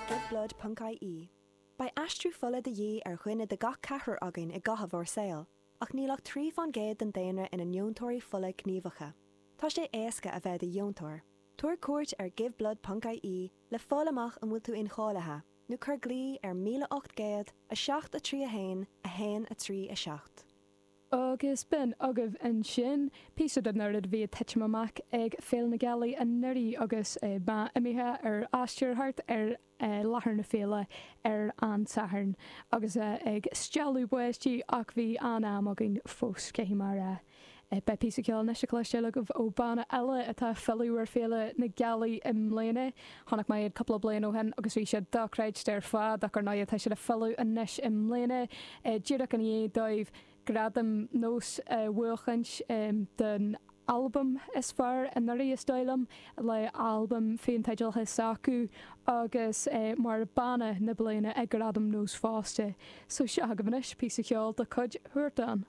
Giveblood.ie. Beidh aistriú fola de dhíth ar dhuine de gach ceathrar againn i gcaitheamh ár saoil, ach níl ach 3 fán gcéad den daonra ina ndeontóirí fola gníomhacha. Tá sé éasca a bheith i do dheontóir. Tabhair cuairt ar giveblood.ie le fáil amach an bhfuil tú incháilithe, nó cuir glao ar 1800 7 3 1 1 3 7. Agus b'in agaibh ansin píosa den rud a bhí ag titim amach ag Féile na Gealaí anuraidh agus mé imithe ar aistear thart ar láthair na féile ar an Satharn agus ag stealladh báistí ach bhí an-am againn fós, caithfidh mé a rá. Beidh píosa ceoil anois le cloisteáil agaibh ó banna eile atá ag filleadh ar Féile na Gealaí i mbliana. Chonaic mé iad cúpla bliain ó shin agus bhí siad dochreidte ar fad ach ar ndóigh tá siad ag filleadh anois i mbliana díreach i ndiaidh dóibh gradam Nós a bhuachaint don albam is fearr anuraidh is dóigh liom, le albam féinteidealaithe s'acu agus mar banna na bliana ag Gradaim Nós fosta. So seo agaibh anois píosa ceoil de chuid Huartan.